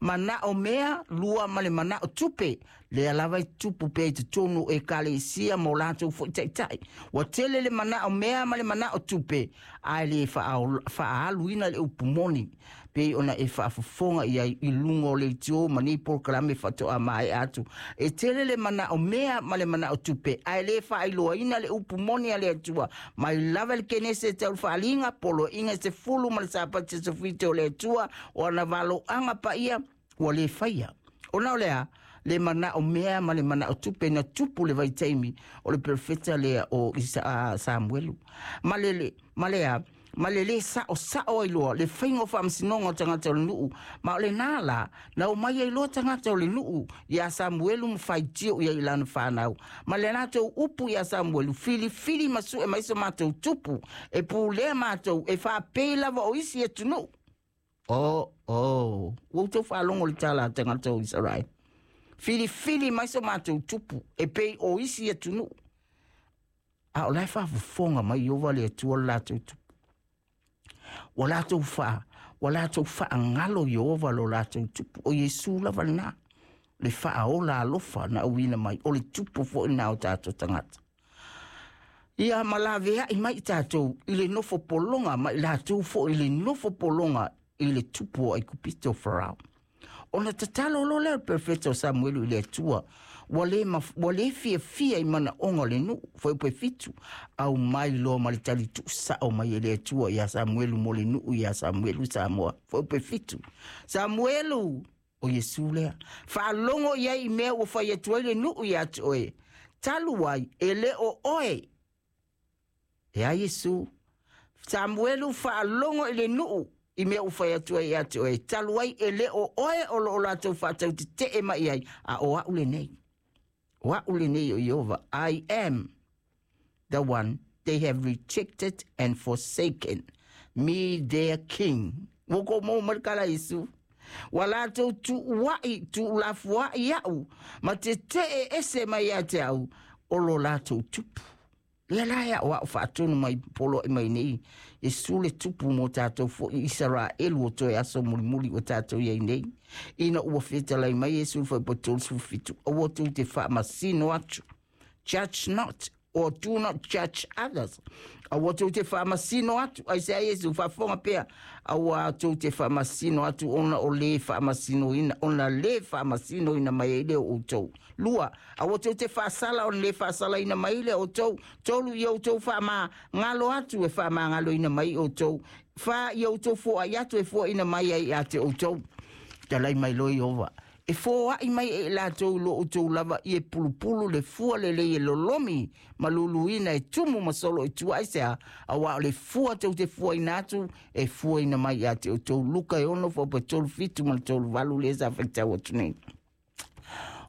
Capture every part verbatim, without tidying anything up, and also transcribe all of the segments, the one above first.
Manaʻomea, lua ma le manaʻo tupe. Lea lava e tupu pea i totonu o ekalesia ma o latou foʻi taʻitaʻi. Ua tele le manaʻomea ma le manaʻo tupe, ae lē faaaluina le upu moni pei ona e faafofoga i ai i luga o leitio ma nei polokalame faatoa maeʻa atu. E tele le manaʻomea ma le manaʻo tupe, ae lē faailoaina le upu moni a le Atua. Mai lava le Kenese e tau i le Faaliga, poloaiga e sefulu ma le Sapati aso fitu o le Atua, o ana valoaga paia ua lē faia. Ona o le a? Le manaʻomea ma le manaʻo tupe na tupu le vaitaimi o le perofeta lea o Isa, Samuelu. Ma le, ma le a? Ma le lē saʻosaʻo ai loa le faiga o faamasinoga o tagata o le nuu. Ma o lenā la, na omai ai loa tagata o le nuu iā Samuelu ma faitio i ai i lana fanau. Ma le latou upu iā Samuelu, Filifili ma sue mai so matou tupu, e pulea matou, e faapei lava o isi atunuu. O, o, ua outou faalogo i le tala a tagata o Isaraele. Filifili mai so matou tupu, e pei o isi atunuu. A o la e faafofoga mai Ieova le Atua le latou tupu. Ua latou faa, ua latou faagalo Ieova lo latou tupu. O Iesu lava lenā, le faaola alofa na auina mai, o le tupu foʻi lenā o tatou tagata. Ia ma laveaʻi mai tatou i le nofo pologa ma i latou foʻi i le nofo pologa i le tupu o Aikupito o Farao. Ona tatalo loa lea o le perofeta o Samuelu i le Atua, ua lē ua lē fiafia i manaʻoga o le nuu. Fuaiupu e fitu, aumai loa ma le tali tuusaʻo mai e le Atua iā Samuelu mo le nuu iā Samuelu Samoa. Fuaiupu e fitu, Samuelu, o Iesu lea, faalogo i ai i mea ua fai atu ai le nuu iā te oe, talu ai e lē o oe e a Iesu. Samuelu, faalogo i le nuu i mea ua fai atu ai ia te oe, talu ai e lē o oe o loo latou faatautetee mai ai, a o aʻu lenei. O aʻu lenei o Ieova. I am the one they have rejected and forsaken, me their king. Ua kou maua mai le tala a Iesu. Ua latou tuuaʻi, tuulafoaʻi iaʻu, ma tetee ese mai ia te au, o lo latou tupu. Lea la e aʻoaʻo faatonu mai poloaʻi mai nei, Iesu le tupu mo tatou foʻi Isaraelu o toe aso mulimuli ua tatou i ai nei. Ina ua fetalai mai Iesu i le fuaiupu tolusifu fitu, aua tou te faamasino atu. Judge not, or do not judge others. Aua tou te faamasino atu, aisea Iesu, faafofoga pea, aua tou te faamasino atu ona o lē faamasinoina, ona lē faamasinoina mai ai lea o outou. Lua, aua tou te faasala ona lē faasalaina mai lea o outou. Tolu, ia outou faamagalo atu e faamagaloina mai outou. Fa, ia outou foai atu e foaina mai ai ia te outou. Talai mai loa Ieova, e foai mai e i latou i lo outou lava i e pulupulu le fua lelei e lolomi ma luluina e tumu ma solo i tua. Aisea? Auā o le fua tou te fuaina atu e fuaina mai ia te outou. Luka e ono fuaiupu e tolu fitu ma le tolu valu lea sa faitau atu nei.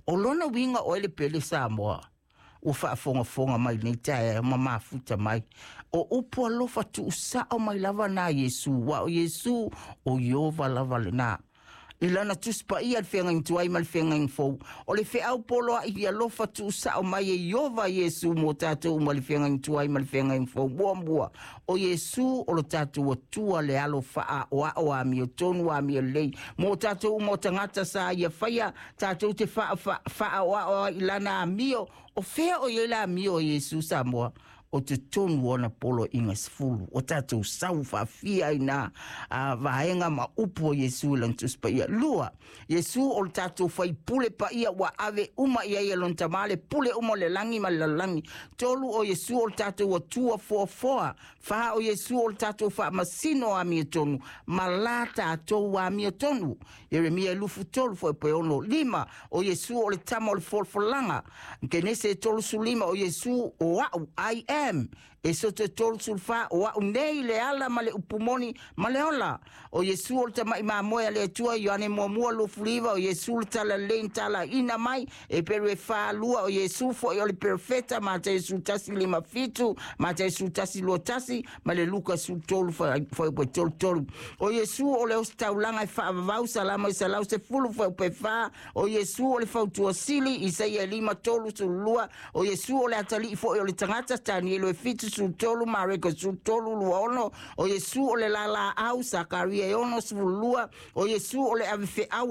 O lona uiga oe le pele Samoa ua faafogafoga mai lenei taeao ma mafuta mai. O upu alofa tuusaʻo mai lava nā Iesu, ua o Iesu o Ieova lava lenā. I lana Tusi Paia le Feagaiga Tuai ma le Feagaiga Fou, o le feau poloaʻi i alofa tuusaʻo mai e Ieova Iesu mo tatou uma le Feagaiga Tuai ma le Feagaiga Fou. Muamua, o Iesu o lo tatou Atua le alo faaʻoaʻo amiotonu amio lelei mo tatou uma o tagata sa ia faia tatou te faaʻoaʻo ai i lana amio. O fea o i ai le amio o Iesu Samoa? O totonu o ana poloaiga sefulu. Ua tatou sau faafia ai nā a vaega ma upu o Iesu i lana Tusi Paia. Lua, Iesu o le tatou faipule paia ua ave uma i ai e lona Tamā le pule uma o le lagi ma le lalolagi. Tolu, o Iesu o le tatou Atua foafoa. Fa, o Iesu o le tatou faamasino amiotonu ma la tatou amiotonu. Ieremia e lufu tolu fuaiupu e ono. Lima, o Iesu o le Tama o le folafolaga. Kenese e tolusifu lima, o Iesu o aʻu, I am. Esoto e tolusifu fa, o aʻu nei le ala ma le upu moni ma le ola. O Iesu o le tamaʻi mamoe a le Atua. Ioane muamua luafuluiva, o Iesu le tala lelei na talaina mai. Eperu e fa lua, o Iesu foʻi o le perofeta. Mataio sefulu tasi lima fitu, Mataio sefulu tasi lua tasi, ma le Luka sefulu tolu fuaiupu e tolu tolu. O Iesu o le ositaulaga e faavavau. Salamo e selau sefulu fuaiupu e fa, o Iesu o le fautua sili. Isaia e lima tolu sulu lua, o Iesu o le atalii foʻi o le tagata. Tanielo e fitu sulu tolu, Mareko sulu tolu lua ono, o Iesu o le lalaau. Sakaria e ono sefulu lua, o Iesu o le avefeau.